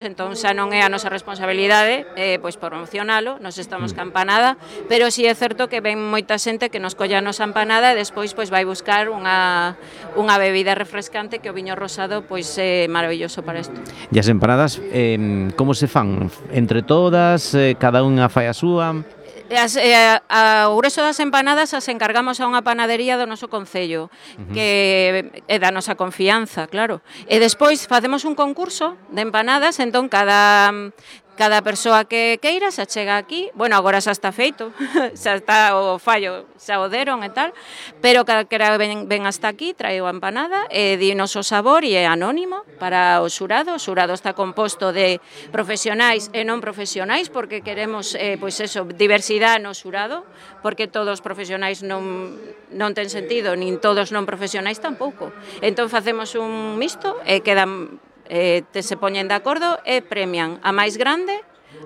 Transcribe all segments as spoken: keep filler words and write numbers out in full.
Entón xa non é a nosa responsabilidade eh, pois promocionalo, nos estamos ca empanada, pero si é certo que ven moita xente que nos colla a nosa empanada e despois pois vai buscar unha, unha bebida refrescante que o viño rosado pois é maravilloso para isto. E as empanadas, eh, como se fan? Entre todas, eh, cada unha fai a súa? As, eh, a, o grueso das empanadas as encargamos a unha panadería do noso concello, uh-huh. que é da nosa confianza, claro. E despois facemos un concurso de empanadas, entón cada... Cada persoa que queira se chega aquí, bueno, agora xa está feito, xa está o fallo, xa o deron e tal, pero calquera ven, ven hasta aquí, trae a empanada, e dinos o sabor e é anónimo para o xurado. O xurado está composto de profesionais e non profesionais, porque queremos, eh, pois eso, diversidade no xurado, porque todos profesionais non, non ten sentido, nin todos non profesionais tampouco. Entón facemos un mixto e quedan... Eh, te se poñen de acordo e premian a máis grande,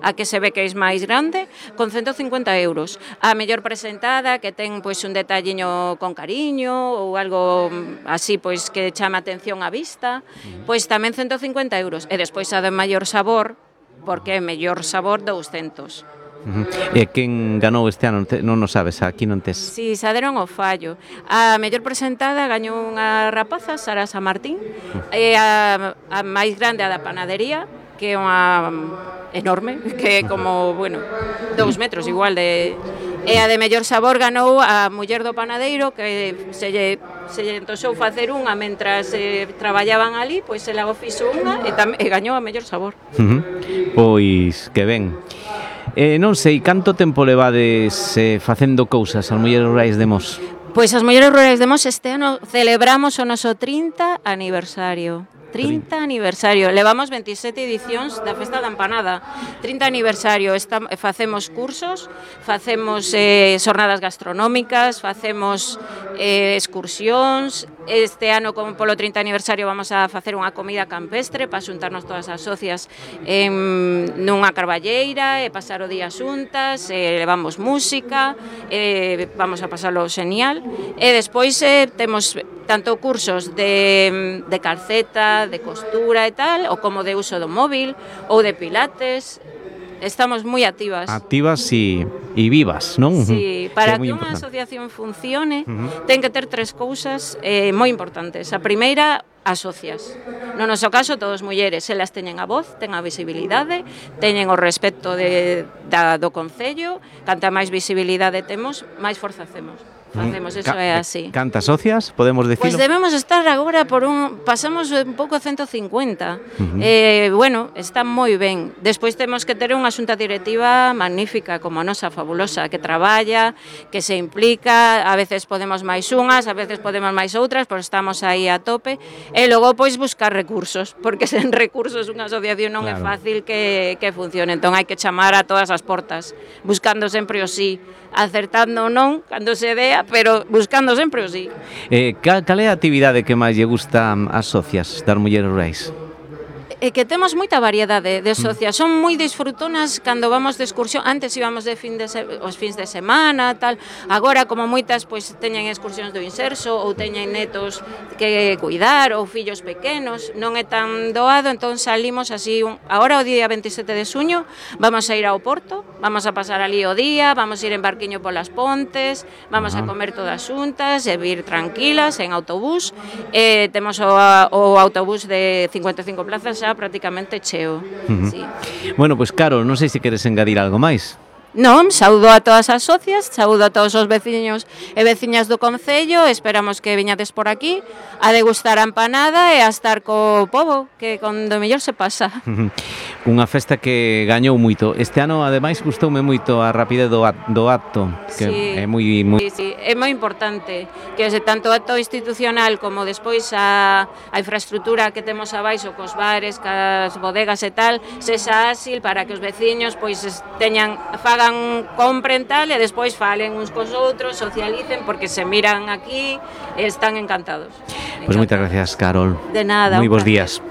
a que se ve que é máis grande, con ciento cincuenta euros. A mellor presentada, que ten pois un detalliño con cariño ou algo así pois que chama atención á vista, pois tamén ciento cincuenta euros. E despois a de maior sabor, porque é mellor sabor douscentos. Uh-huh. E quen ganou este ano? Non o sabes, aquí non tes. Si, xa deron o fallo. A mellor presentada gañou unha rapaza, Sara San Martín, uh-huh. e a, a máis grande a da panadería, que é unha enorme, que é como, bueno, dous metros igual de... E a de mellor sabor ganou a muller do panadeiro, que se lle, se lle entosou facer unha mentras eh, traballaban ali, pois ela o fixo unha e, tam, e gañou a mellor sabor. Uh-huh. Pois, que ben. Eh, non sei, canto tempo levades eh, facendo cousas as mulleres rurais de Mos? Pois as mulleres rurais de Mos este ano celebramos o noso trinta aniversario. trinta aniversario. Levamos veintisiete edicións da Festa da Empanada. trinta aniversario. Está, facemos cursos, facemos eh, xornadas gastronómicas, facemos eh, excursións. Este ano, como polo trinta aniversario, vamos a facer unha comida campestre para xuntarnos todas as socias en, nunha carballeira e pasar o día xuntas, e levamos música, e vamos a pasarlo genial. E despois eh, temos tanto cursos de, de calceta, de costura e tal, ou como de uso do móvil, ou de pilates. Estamos moi activas. Activas e, e vivas, non? Sí, para que, que unha importante. asociación funcione, uh-huh. ten que ter tres cousas eh, moi importantes. A primeira, as socias. No noso caso, todos mulleres, elas teñen a voz, ten a visibilidade, teñen o respecto de, da, do Concello, canta máis visibilidade temos, máis forza hacemos. Facemos, eso é así. Cantas socias, podemos decirlo? Pois debemos estar agora por un... Pasamos un pouco a ciento cincuenta. Uh-huh. Eh, bueno, está moi ben. Despois temos que ter unha xunta directiva magnífica, como a nosa, fabulosa, que traballa, que se implica, a veces podemos máis unhas, a veces podemos máis outras, pois estamos aí a tope. E logo, pois, buscar recursos, porque sen recursos unha asociación non claro. É fácil que, que funcione. Entón, hai que chamar a todas as portas, buscando sempre o sí, acertando ou non, cando se dea, pero buscando sempre o sí. Eh, cal, cal é a actividade que máis lle gusta ás socias das mulleres rurais? É que temos moita variedade de socias, son moi disfrutonas cando vamos de excursión. Antes íbamos de fin de se... os fins de semana, tal. Agora, como moitas, pois teñen excursións do inserso ou teñen netos que cuidar ou fillos pequenos, non é tan doado, entón salimos así. Un... Agora, o día veintisiete de xuño, vamos a ir ao Porto, vamos a pasar ali o día, vamos a ir en barquiño polas pontes, vamos uh-huh. a comer todas xuntas e vir tranquilas en autobús. Eh, temos o, o autobús de cincuenta e cinco plazas xa prácticamente cheo. Uh-huh. Sí. Bueno, pois pues, Carol, non sei se queres engadir algo máis. Non, saúdo a todas as socias, saúdo a todos os veciños e veciñas do Concello, esperamos que viñades por aquí a degustar a empanada e a estar co pobo, que con do mellor se pasa. Unha festa que gañou moito. Este ano, ademais, gustoume moito a rapidez do, do acto, que sí, é moi, moi... Sí, sí, é moi importante que ese tanto acto institucional como despois a, a infraestructura que temos abaixo cos bares, cas bodegas e tal, sexa áxil para que os veciños pois teñan, fagan compren tal e despois falen uns cos outros, socialicen, porque se miran aquí e están encantados. Pois pues moitas gracias, Carol. De nada. Moi bons días.